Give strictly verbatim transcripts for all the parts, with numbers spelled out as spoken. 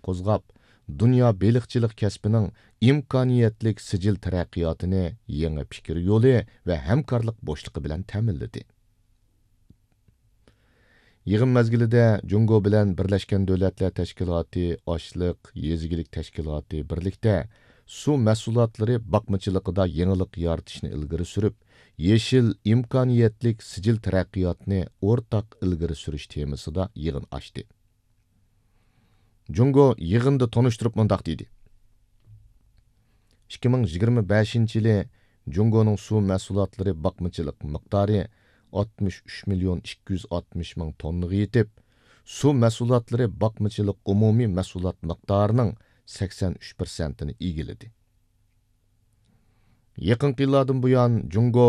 قوزغاپ، دۇنيا بېلىقچىلىق كەسپىنىڭ ئىمكانىيەتلىك سىجىل تەرەققىياتىنى يېڭى پىكىر يولى ۋە ھەمكارلىق بوشلۇقى بىلەن تەمىنلىدى. يىغىن مەزگىلىدە جۇڭگو بىلەن بىرلەشكەن دۆلەتلەر تەشكىلاتى ئاشلىق يېزا ئىگىلىك تەشكىلاتى بىرلىكتە سۇ مەھسۇلاتلىرى باقمىچىلىقىدا يېڭىلىق يارىتىشنى ئىلگىرى سۈرۈپ، يېشىل ئىمكانىيەتلىك سىجىل تەرەققىياتنى ئورتاق ئىلگىرى سۈرۈش تېمىسىدا يىغىن ئاچتى. جۇڭگو يىغىندا تونۇشتۇرۇپ مۇنداق دېدى: ئىككى مىڭ يىگىرمە بەشىنچى يىلى جۇڭگونىڭ سۇ مەھسۇلاتلىرى باقمىچىلىق مىقدارى ئاتمىش ئۈچ مىليون ئىككى يۈز ئاتمىش مىڭ توننىغا يېتىپ، سۇ مەھسۇلاتلىرى باقمىچىلىق ئومۇمىي مەھسۇلات مىقدارىنىڭ سەكسەن ئۈچ پىرسەنتىنى ئىگىلىدى. يېقىنقى يىللاردىن بۇيان، جۇڭگو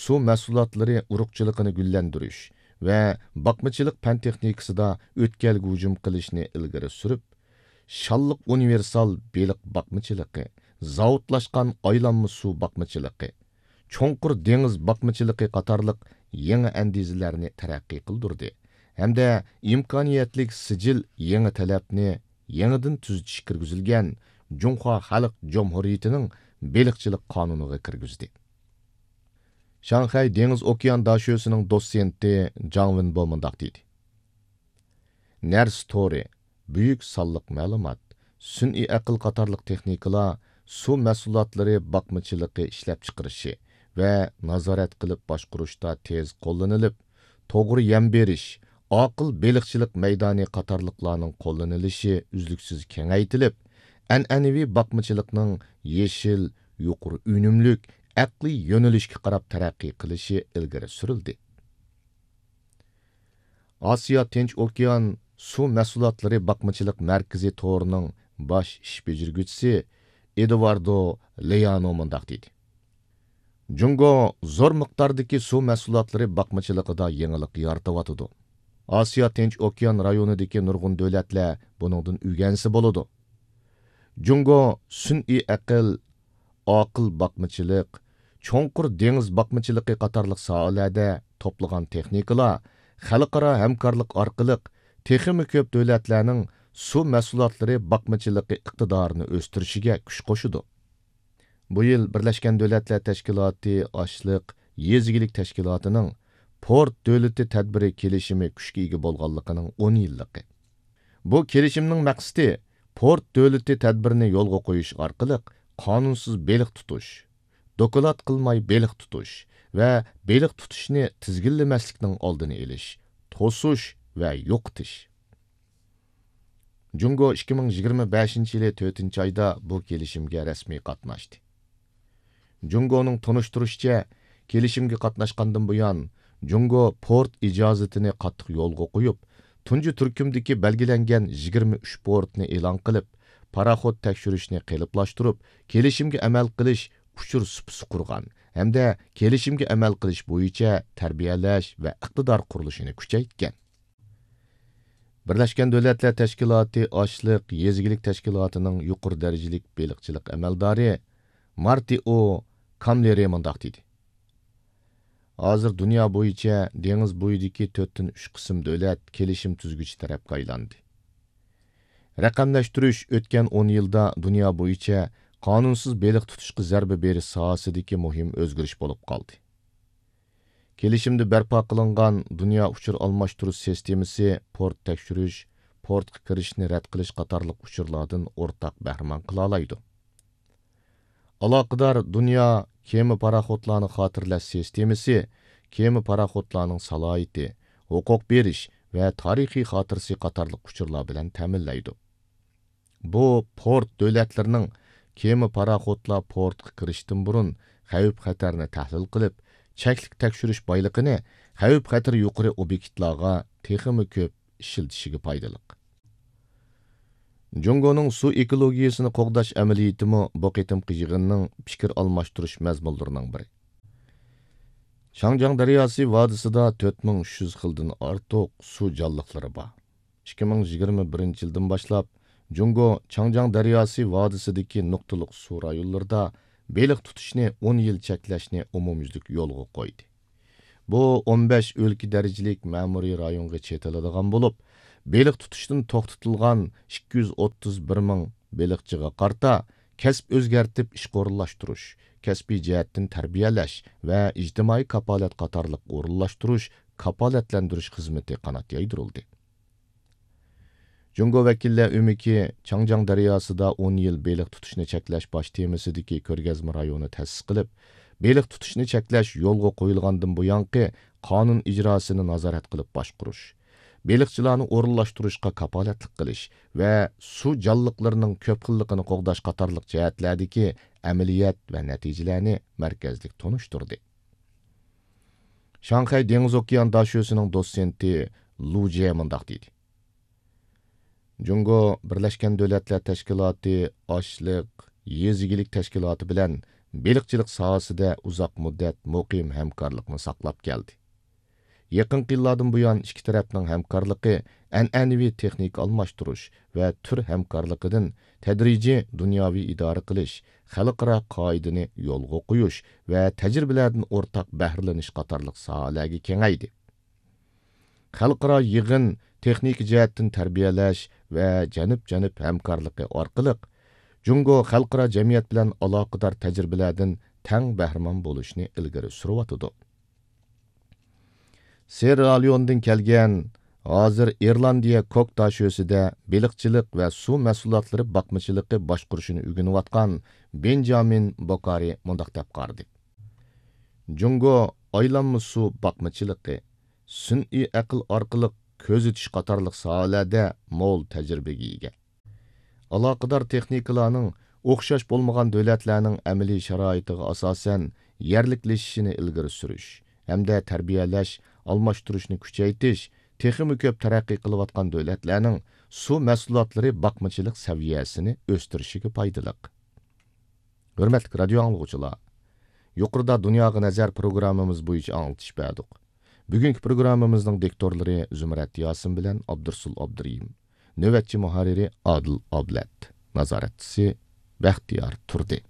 سۇ مەھسۇلاتلىرى ئۇرۇقچىلىقىنى گۈللەندۈرۈش ۋە باقمىچىلىق پەن تېخنىكىسىدا ئۆتكەلگە ھۇجۇم قىلىشنى ئىلگىرى سۈرۈپ، شانلىق ئۇنىۋېرسال بېلىق باقمىچىلىقى، زاۋۇتلاشقان ئايلانما سۇ باقمىچىلىقى، چوڭقۇر دېڭىز باقمىچىلىقى قاتارلىق يېڭى ئەندىزىلەرنى تەرەققىي قىلدۇردى ھەمدە ئىمكانىيەتلىك سىجىل يېڭى تەلەپنى يېڭىدىن تۈزىتىش كىرگۈزۈلگەن جۇڭخۇا خەلق جۇمھۇرىيىتىنىڭ بېلىقچىلىق قانۇنىغا كىرگۈزدى. شاڭخەي دېڭىز ئوكيان داشۆسىنىڭ دوتسېنتى جاڭ ۋېنبو مۇنداق دېدى: نەرسە تورى، بۈيۈك سانلىق مەلۇمات، سۈنئىي ئەقىل قاتارلىق تېخنىكىلار سۇ مەھسۇلاتلىرى باقمىچىلىقى ئىشلەپچىقىرىشى ۋە نازارەت قىلىپ باشقۇرۇشتا تېز قوللىنىلىپ، توغرا يەم بېرىش، ئاقىل بېلىقچىلىق مەيدانى قاتارلىقلارنىڭ قوللىنىلىشى ئۈزلۈكسىز كېڭەيتىلىپ، ئەنئەنىۋى باقمىچىلىقنىڭ يېشىل، يۇقىرى ئۈنۈملۈك، ئەقلىي يۆنىلىشكە قاراپ تەرەققىي قىلىشى ئىلگىرى سۈرۈلدى. ئاسىيا تىنچ ئوكيان سۇ مەھسۇلاتلىرى باقمىچىلىق مەركىزى تورىنىڭ باش ئىش بېجىرگۈچىسى ئېدۇاردو لېيانو مۇنداق دېدى: جۇڭگو زور مىقداردىكى سۇ مەھسۇلاتلىرى باقمىچىلىقىدا يېڭىلىق يارىتىۋاتىدۇ. ئاسىيا تىنچ ئوكيان رايونىدىكى نۇرغۇن دۆلەتلەر بۇنىڭدىن ئۆگەنسە بولىدۇ. جۇڭگو سۈنئىي ئەقىل، ئاقىل باقمىچىلىق، چوڭقۇر دېڭىز باقمىچىلىقى قاتارلىق ساھەلەردە توپلىغان تېخنىكىلار خەلقئارا ھەمكارلىق ئارقىلىق تېخىمۇ كۆپ دۆلەتلەرنىڭ سۇ مەھسۇلاتلىرى باقمىچىلىقى ئىقتىدارىنى ئۆستۈرۈشىگە كۈچ قوشىدۇ. بۇ يىل بىرلەشكەن دۆلەتلەر تەشكىلاتى ئاشلىق يېزا ئىگىلىك تەشكىلاتىنىڭ پورت دۆلىتى تەدبىرى كېلىشىمى كۈچكە ئىگە بولغانلىقىنىڭ ئون يىللىقى. بۇ كېلىشىمنىڭ مەقسىتى پورت دۆلىتى تەدبىرىنى يولغا قويۇش ئارقىلىق قانۇنسىز بېلىق تۇتۇش، دوكلات قىلماي بېلىق تۇتۇش ۋە بېلىق تۇتۇشنى تىزگىنلىمەسلىكنىڭ ئالدىنى ئېلىش، توسۇش ۋە يوقىتىش. جۇڭگو ئىككى مىڭ يىگىرمە بەشىنچى يىلى تۆتىنچى ئايدا بۇ كېلىشىمگە رەسمىي قاتناشتى. جۇڭگونىڭ تونۇشتۇرۇشىچە، كېلىشىمگە قاتناشقاندىن بۇيان، جۇڭگو پورت ئىجازىتىنى قاتتىق يولغا قويۇپ، تۇنجى تۈركۈمدىكى بەلگىلەنگەن يىگىرمە ئۈچ پورتنى ئېلان قىلىپ، پاراخوت تەكشۈرۈشنى قېلىپلاشتۇرۇپ، كېلىشىمگە ئەمەل قىلىش، ئۇچۇر سۇپىسى قۇرغان ھەمدە كېلىشىمگە ئەمەل قىلىش بويىچە تەربىيەلەش ۋە ئىقتىدار قۇرۇلۇشىنى كۈچەيتكەن. بىرلەشكەن دۆلەتلەر تەشكىلاتى ئاشلىق يېزا ئىگىلىك تەشكىلاتىنىڭ يۇقىرى دەرىجىلىك بېلىقچىلىق ئەمەلدارى مارتىئو كاملېرى مۇنداق دېدى: ھازىر دۇنيا بويىچە دېڭىز بويىدىكى تۆتتىن ئۈچ قىسىم دۆلەت كېلىشىم تۈزگۈچى تەرەپكە ئايلاندى. رەقەملەشتۈرۈش ئۆتكەن ئون يىلدا دۇنيا بويىچە قانۇنسىز بېلىق تۇتۇشقا زەربە بېرىش ساھەسىدىكى مۇھىم ئۆزگىرىش بولۇپ قالدى. كېلىشىمدە بەرپا قىلىنغان دۇنيا ئۇچۇر ئالماشتۇرۇش سىستېمىسى پورت تەكشۈرۈش، پورتقا كىرىشنى رەت قىلىش قاتارلىق ئۇچۇرلاردىن ئورتاق بەھرىمەن قىلالايدۇ. ئالاقىدار دۇنيا كېمە پاراخوتلارنى خاتىرىلەش سىستېمىسى كېمە پاراخوتلارنىڭ سالاھىيىتى، ھوقۇق بېرىش ۋە تارىخىي خاتىرىسى قاتارلىق ئۇچۇرلار بىلەن تەمىنلەيدۇ. بۇ پورت دۆلەتلىرىنىڭ كېمە پاراخوتلار پورتقا كىرىشتىن بۇرۇن خەۋپ خەتەرنى تەھلىل قىلىپ، چەكلىك تەكشۈرۈش بايلىقىنى خەۋپ خەتىرى يۇقىرى ئوبيېكتلارغا تېخىمۇ كۆپ ئىشلىتىشىگە پايدىلىق. جۇڭگونىڭ سۇ ئېكولوگىيەسىنى قوغداش ئەمەلىيىتىمۇ بۇ قېتىمقى يىغىننىڭ پىكىر ئالماشتۇرۇش مەزمۇنلىرىنىڭ بىرى. شاڭجياڭ دەرياسى ۋادىسىدا تۆت مىڭ ئۈچ يۈز خىلدىن ئارتۇق سۇ جانلىقلىرى بار. ئىككى مىڭ يىگىرمە بىرىنچى يىلدىن باشلاپ، جۇڭگو چاڭجياڭ دەرياسى ۋادىسىدىكى نۇقتىلىق سۇ رايونلىرىدا بېلىق تۇتۇشنى ئون يىل چەكلەشنى ئومۇميۈزلۈك يولغا قويدى. بۇ ئون بەش ئۆلكە دەرىجىلىك مەمۇرىي رايونغا چېتىلىدىغان بولۇپ، بېلىق تۇتۇشتىن توختىتىلغان ئىككى يۈز ئوتتۇز بىر مىڭ بېلىقچىغا قارىتا كەسىپ ئۆزگەرتىپ ئىشقا ئورۇنلاشتۇرۇش، كەسپىي جەھەتتىن تەربىيەلەش ۋە ئىجتىمائىي كاپالەت قاتارلىق ئورۇنلاشتۇرۇش، كاپالەتلەندۈرۈش خىزمىتى قانات يايدۇرۇلدى. جۇڭگو ۋەكىللەر ئۆمىكى چاڭجياڭ دەرياسىدا ئون يىل بېلىق تۇتۇشنى چەكلەش باش تېمىسىدىكى كۆرگەزمە رايونى تەسىس قىلىپ، بېلىق تۇتۇشنى چەكلەش يولغا قويۇلغاندىن بۇيانقى قانۇن ئىجراسىنى نازارەت قىلىپ باشقۇرۇش، بېلىقچىلارنى ئورۇنلاشتۇرۇشقا كاپالەتلىك قىلىش ۋە سۇ جانلىقلىرىنىڭ كۆپ خىللىقىنى قوغداش قاتارلىق جەھەتلەردىكى ئەمەلىيەت ۋە نەتىجىلەرنى مەركەزلىك تونۇشتۇردى. شاڭخەي دېڭىز ئوكيان داشۆسىنىڭ دوتسېنتى لۇ جيې مۇنداق دېدى: جۇڭگو بىرلەشكەن دۆلەتلەر تەشكىلاتى ئاشلىق، يېزا ئىگىلىك تەشكىلاتى بىلەن بېلىقچىلىق ساھەسىدە ئۇزاق مۇددەت مۇقىم ھەمكارلىقنى ساقلاپ كەلدى. يېقىنقى يىللاردىن بۇيان ئىككى تەرەپنىڭ ھەمكارلىقى ئەنئەنىۋى تېخنىكا ئالماشتۇرۇش ۋە تۈر ھەمكارلىقىدىن تەدرىجىي دۇنياۋى ئىدارە قىلىش، خەلقئارا قائىدىنى يولغا قويۇش ۋە تەجرىبىلەردىن ئورتاق بەھرىلىنىش قاتارلىق ساھەلەرگە كېڭەيدى. خەلقئارا يىغىن، تېخنىكا جەھەتتىن تەربىيەلەش ۋە جەنۇب-جەنۇب ھەمكارلىقى ئارقىلىق، جۇڭگو خەلقئارا جەمئىيەت بىلەن ئالاقىدار تەجرىبىلەردىن تەڭ بەھرىمەن بولۇشنى ئىلگىرى سۈرۈۋاتىدۇ. سېررا لېئوندىن كەلگەن، ھازىر ئىرلاندىيە كوك داشۆسىدە بېلىقچىلىق ۋە سۇ مەھسۇلاتلىرى باقمىچىلىقى باشقۇرۇشىنى ئۆگىنىۋاتقان بېنجامىن بوكارى مۇنداق دەپ قارىدى: جۇڭگو ئايلانما سۇ باقمىچىلىقى، سۈنئىي ئەقىل ئارقىلىق كۆزىتىش قاتارلىق ساھەلەردە مول تەجرىبىگە ئىگە. ئالاقىدار تېخنىكىلارنىڭ ئوخشاش بولمىغان دۆلەتلەرنىڭ ئەمەلىي شارائىتىغا ئاساسەن يەرلىكلىشىشىنى ئىلگىرى سۈرۈش ھەمدە تەربىيەلەش، ئالماشتۇرۇشنى كۈچەيتىش تېخىمۇ كۆپ تەرەققىي قىلىۋاتقان دۆلەتلەرنىڭ سۇ مەھسۇلاتلىرى باقمىچىلىق سەۋىيەسىنى ئۆستۈرۈشىگە پايدىلىق. ھۆرمەتلىك رادىيو ئاڭلىغۇچىلار، يۇقىرىدا دۇنياغا نەزەر پروگراممىمىز بويىچە ئاڭلىتىش بەردۇق. بۈگۈنكى پروگراممىمىزنىڭ دىكتورلىرى زۇمرەت ياسىن بىلەن ئابدۇرسۇل ئابدۇرېھىم. نۆۋەتچى مۇھەررىرى ئادىل ئابلەت. نازارەتچىسى بەختىيار تۇردى.